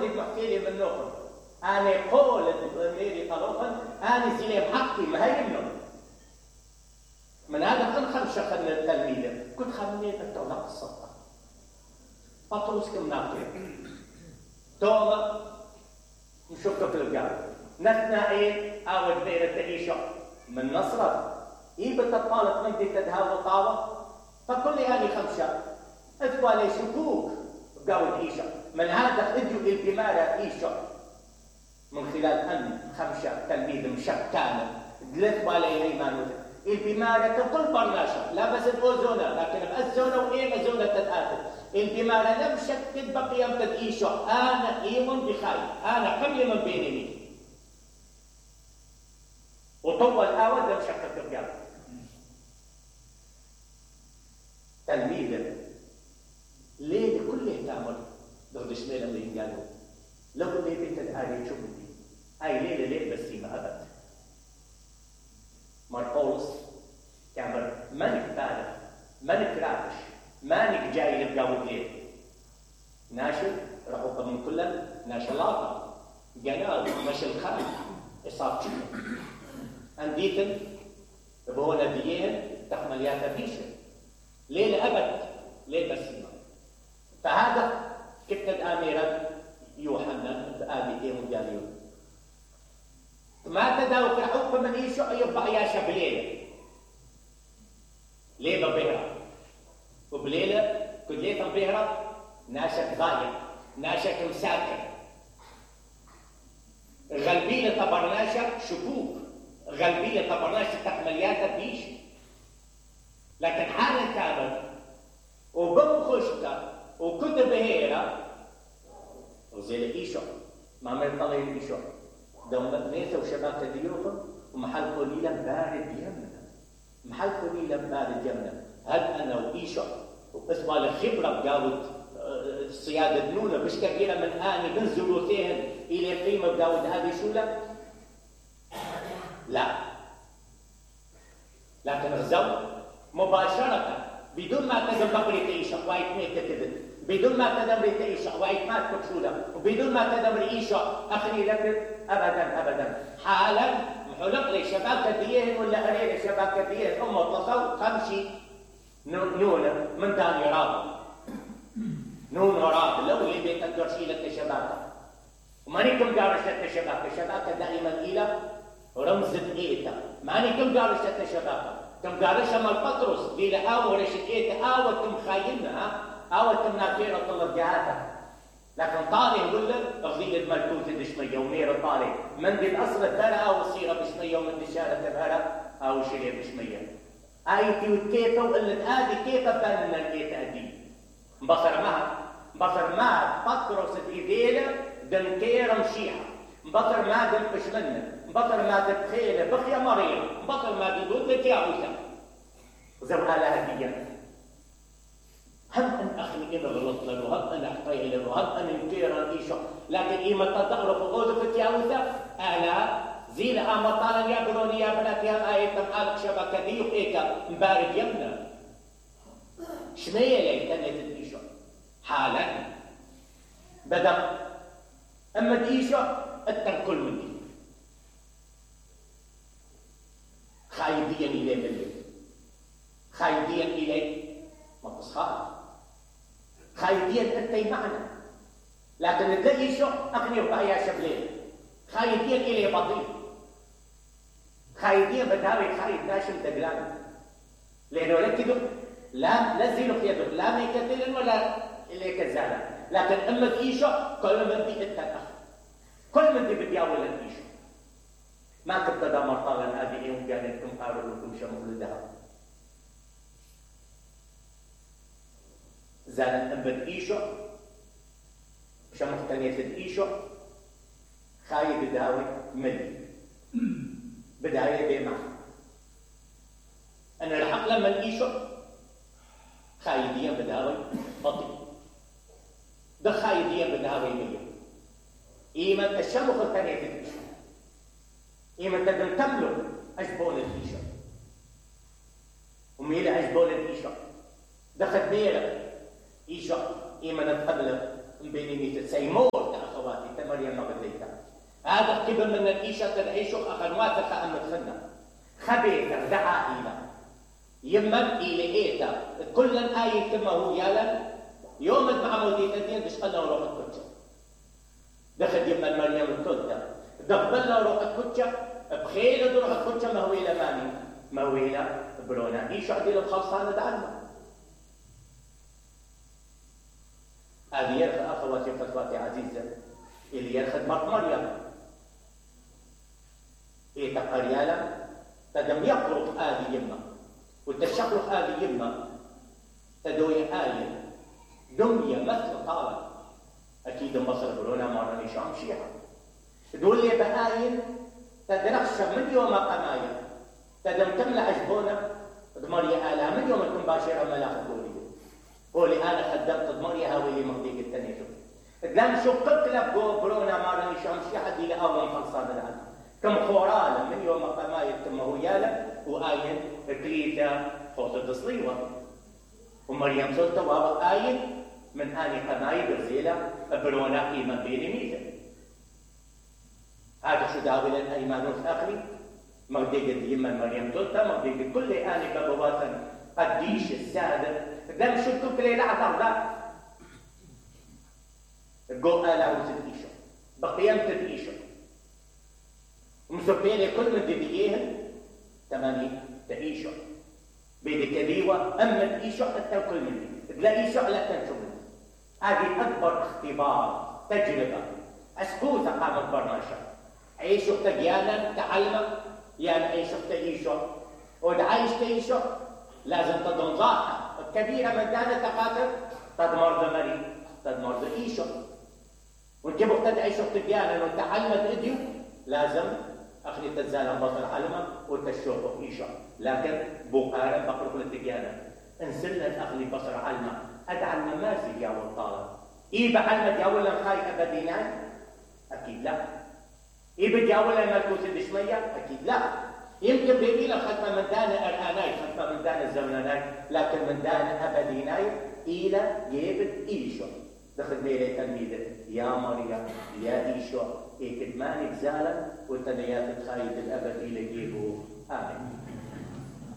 دي محكي لي من نوخن أنا قول ميري طلوخن أنا زي محكي ما هي منه من هذا كان خمسة خلنا التلميذ كنت خمني التوضع الصدق بطرس كم ناطر توما نشوفك في الجار نثنائيل أو بير التعيشة من نصرة بتطالت من دي تدهاو طاوة فكل هذه خمسة اثبوا لي شكوك بقاو العيشة من هذا اجوا البمارة عيشة من خلال أن خمسة تلميذ مشكانة دلثوا لي هيمانوت البمارة كل برناشة لا بس الأوزونة لكن بأزونة وإيه مزونة تتآتل البمارة لم شكت بقيام تدعيشة أنا إيمن بخير أنا كل من بيني وطول آود لم شكت بقيام تلميذا ليه كله تعمل ضد شمال اللي قالوا لو اللي بيت الآلي شو بدي أي ليه بس ما أبد ماربولس كامل مانك بالغ مانك رافش مانك جاي لبقاو ليه ناشر رحوك من كلهم ناشلاطة جنال مش الخالد إصاب شكل أنديتن بهو نبيين تحمليات بيشة ليه لأبد ليه بس ما فهذا كتب أميرا يوحنا بآبي إيه مجاليون ما تداو في حكم من يشع يبقى يا شبليلة ليه ببهرة وبليلة كلية بهرة ناشك ضايع ناشك مساكر غلبيلة طبرناشة شكوك غلبيلة طبرناشة تحمليات بيش لكن حالة كامل وبمخشتة وكتب بهيرة وزيل إيشو ما مرطلين إيشو دوم ميثا وشباكة ديوخن ومحل قليلا بارد يمنا محل قليلا بارد يمنا هل أنا وإيشو واسمع لخبرة بقاود الصيادة دنونة مش كبيرة من آني من زلوثيهن إلى قيمة بقاود هذه شولة لا لكن الزوج مباشرة بدون ما تدم بقري تعيشة وايت ميتة كذب بدون ما تدم ريتيشة وايت مات كتشولة وبدون ما تدم رئيشة أخري لك أبدا حالا محلق لي شباكة ديهن ولا أريد شباكة ديهن اتصل خمشي نون من داني راب نون راب لو اللي بيتك جرشيلة شباكة ومانيكم جارشة شباكة دائما إلى رمز إيتا مانيكم جارشة شباكة كم جارشة مال بطرس دي لآو رشت إيتا آوتم خاينها آوتم نافيرة طلب جهاتها لكن طالع يقول لك أغذية ملكوت دشمية ومير طالع من دي الأصل الدرة أو الصيرة بشمية ومن دي شارة الهرة أو شرية بشمية آيتي وكيفة وقلت هذه كيفة بان الكيفة دي بصر ما بطرس إيدينا دنكيرة مشيحة بطر ما دنقش منه بطر ما دبخيلة بخيا مريم بطر ما ددود لك يا عوسى زوالها هدية هم أن أخني إن غلط له وهم أن أحطي له وهم أن ينكير إيشا لكن إيما تدخل في غوزة يا عوسى أنا زين أمطالا يا بروني يا بنات يا آية تمحالك شبكة دي وإيكا مبارد يمنا شمية لي إيشا حالا بدأ أما إيشا أتن كل من دي خايديا إليه بالله خايديا إليه ما تصخاف خايديا أنتي معنا لكن تلاقي شو أغني وبايا شبلين خايديا إليه بطيء خايديا بداوي خايد ناشم دقلان لأنه لكدو لا زينو في يدو لا ميكتلن ولا إليه كزالا لكن أما إيشو كل من دي أتن كل من دي بدياول الإيشو ما تبتدى مرطالا هذه يوم قالتكم قالوا لكم شمول الذهب زالت أنبت إيشو شمخ تنية إيشو خايد بداوي مني بداية بيمع أنا الحق لما إيشو خايديا بداوي بطيء ده خايديا بداوي مني إيما الشمخ تنية إيشو إيما تدن تملك أجبون الإيشو وميلة أجبون الإيشو دخل ميلة إيشو إيما نتقبل بيني ميت سيمور تأخوات هذا قبل من الإيشة تدعيشو أخنواتك أم تخنا خبيثة دعا إلى يمن إلى إيتا كل آية كما هو يالا يوم مع مولدية الدين بشقلنا وروح الكتشة دخل يمن مريم الكتشة دخلنا وروح الكتشة بخيل وروح الكتشة ما هو إلى ماني ما هو إلى برونا إيشو عديل الخاصة دعنا هذه يرخد أخواتي وفتواتي عزيزة اللي يرخد مرت مريم إيه تقريالا تدم يقرق هذه يمه وتشقلق هذه يمه تدوي آية دمية مثل طالب أكيد مصر برونا مرة نشام شيعة تقول لي بآية تدرخش من يوم قمايا تدم تملى عجبونا دمريا آلها من يوم تكون باشرة ملاخ قولي قولي أنا خدمت دمريا هاوي مغديك التنيشو لم شقق لك برونا مرة نشام شيعة دي لأول خلصان العالم كم خورالا من يوم قمايا كم هو يالا وآية كليتا خوصة تصليوة ومريم سلطة وابا آية من آني قمايا برزيلة برونا إيمان بيلي ميزة هذا شو داول الأيمانوس أخري مغديك يمن مريم سلطة مغديك كل آني بابواتن قديش السادة دم شكو كلي لعظم لا قو آلا وزد إيشو بقيمت إيشو ومسبيني كل من ديديهن تماني تعيشوا بيدي كذيوة أما تعيشوا حتى كل مني تلاقي إيشوا لا تنشوا مني هذه أكبر اختبار تجربة أسكوثة قامت برناشا عيشوا تجيانا تعلم يعني عيشوا تعيشوا ودعايش تعيشوا لازم تضم ضاحة كبيرة من دانة تقاتل تدمر دمري تدمر دعيشوا وانت بقتد عيشوا تجيانا وتعلمت إديو لازم أخلي تزال بطل علمة وتشوفه إيشا لكن بقارن بقرق للتقيانة انسلنا الأخلي بصر علمة أدعى الممازي يا والطالب إيه بعلمة ياولا خاي أبديناي أكيد لا إيه بدياولا ملكوت الدشمية أكيد لا يمكن بيبينا ختمة من دانا الآناي ختمة من دانا الزمناناي لكن من دانا أبديناي إلى يبد إيشا دخل بيلي تلميذة يا مريم يا إيشا إيه كتمانك زالا والتنيات الخايد الأبد إلى جيبه آمين